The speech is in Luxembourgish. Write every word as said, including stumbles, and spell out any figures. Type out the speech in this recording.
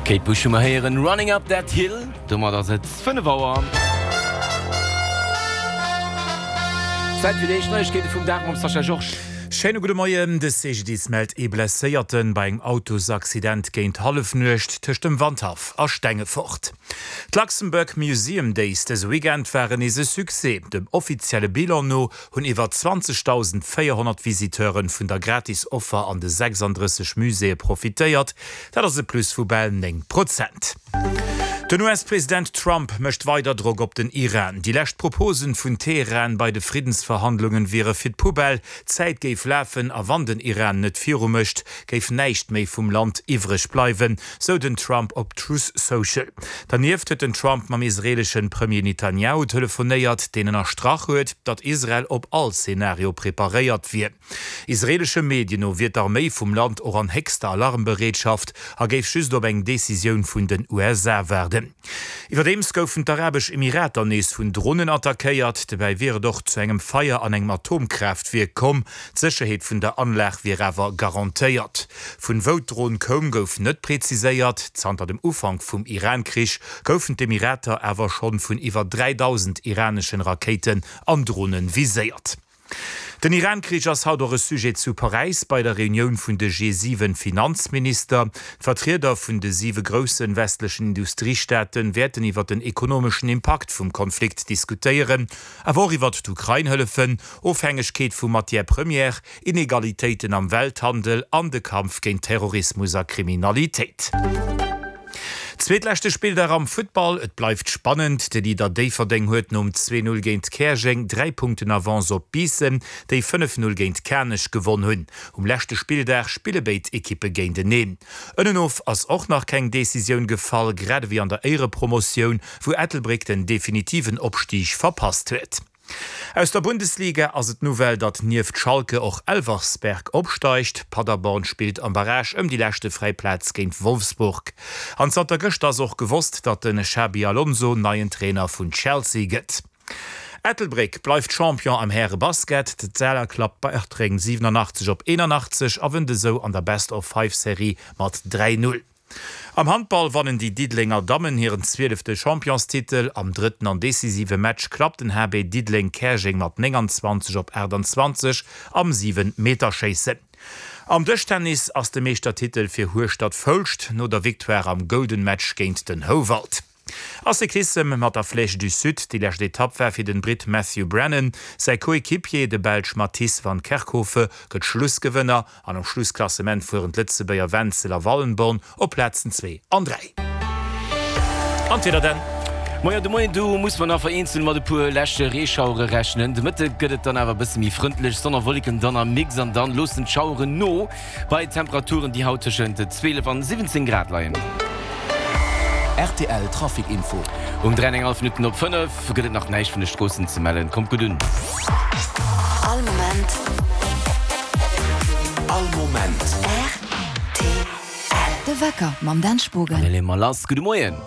Kate Bush hu mer héieren, Running Up That Hill. Domat ass et fënnef Auer. Zäit fir déi éischt Neiegkeete vum Dag mam Sascha Georges. Schéine gudde Moien. De C G D I S mellt ee Blesséierte bei engem Autosaccident géint Hallefnuecht tëscht dem Wandhaff a Stengefort. D'Luxembourg Museum Days dëse Weekend waren nees e Succès. Dem offizielle Bilan no hunn iwwer zwanzegdausendvéierhonnert Visiteure vun der Gratis-Offer an de sechsanddrësseg Muséeë profitéiert. Dat ass e Plus vu bal néng Prozent. Den U S-President Trump mécht weider Drock op den Iran. Déi lescht Proposen vun Teheran bei de Friddensverhandlungen wiere fir d'Poubelle, d'Zäit géif lafen a wann den Iran net viru mécht, géif näischt méi vum Land iwwreg bleiwen, sou den Trump op Truth Social. Dernieft huet den Trump mam israeeleschen Premier Netanjahu telefonéiert, deen ënnerstrach huet, datt Israel op all Zenario preparéiert wier. Israeelesche Medien no wier d'Arméi vum Land och an héchster Alarmbereetschaft a géif just op eng Decisioun vun den U S A waarden. Iwwerdeems goufen d'Arabesch Emirater nees vun Dronen attackéiert. Dobäi wier et och zu engem Feier an engem Atomkraaftwierk komm. D'Sécherheet vun der Anlag wier awer garantéiert. Vun wou d'Dron koum, gouf net preziséiert. Zanter dem Ufank vum Iran-Krich goufen d'Emirater awer schonn vun iwwer dräidausend iraneschen Rakéiten an Dronen viséiert. Den Iran-Krich ass haut och e Sujet zu Paräis bei der Reunioun vun de G siwen Finanzminister. D'Vertrieder vun de siwe grousse westlechen Industriestaate wäerten iwwer den ekonomeschen Impakt vum Konflikt diskutéieren, awer och iwwer d'Ukrain-Hëllefen, Ofhängegkeet vu Matières premières, Inegalitéiten am Welthandel an de Kampf géint Terrorismus a Kriminalitéit. Zweetleschte Spilldag am Futtball, et bleift spannend. De Leader Déifferdeng huet nom zwee Null géint Käerjeng dräi Punkten Avance op Biissen, déi fënnef Null géint Kanech gewonn hunn. Um leschte Spilldag spille béid Ekippe géinteneen. Ënnenof ass och nach keng Decisioun gefall, grad ewéi an der Éierepromotioun, wou Ettelbréck den definitiven Opstig verpasst huet. Aus der Bundesliga ass et d'Nouvelle, datt nieft Schalke och Elversberg opsteigt. Paderborn spillt am Barrage ëm déi leschte fräi Plaz géint Wolfsburg. An zanter gëschter ass och gewosst, datt den Xabi Alonso neien Trainer vun Chelsea gëtt. Ettelbréck bleift Champion am Häre-Basket. D'Etzella klappt Bartreng siwenanachtzeg op eenanachtzeg a wënnt esou an der Best-of-Five-Serie mat dräi Null. Am Handball wannen déi Diddelenger Dammen hiren zwielefte Championstitel. Am drëtten an decisive Match klappt den H B Diddeleng Käerjeng mat nénganzwanzeg op aachtanzwanzeg am Siwen-Meter-Schéissen. Am Dëschtennis ass de Meeschtertitel fir Hueschtert-Foulscht no der Victoire am Golden Match géint den Houwald. A Cyclissem mat der Flèche du Sud, déi lescht Etapp war fir den Britt Matthew Brennan. Säi Coéquipier, de Belsch Mathis van Kerkhove, gëtt Schlussgewënner an am Schlussklassement fueren d'Lëtzebuerger Wenzel a Wallenborn op Plazen zwee an dräi. An d'Wieder dann. Moien, de Moien do muss mer nach vereenzelt mat e puer leschte Reeschauere rechnen. De Mëtte gëtt et dann awer e bësse méi frëndlech, Sonn a Wolleken dann am Mix an dann loossen d'Schaueren no bei Temperaturen, déi haut tëschent zwielef an siwwenzéng Grad leien. R T L Trafic Info. Um dräi an eng hallef Minutten op fënnef gëtt et nach näischt vun de Stroossen ze mellen. Kommt gutt un. All Moment. All Moment. R T L. De Wecker mam Dan Spogen. An da leeë mer lass. Gudde Moien.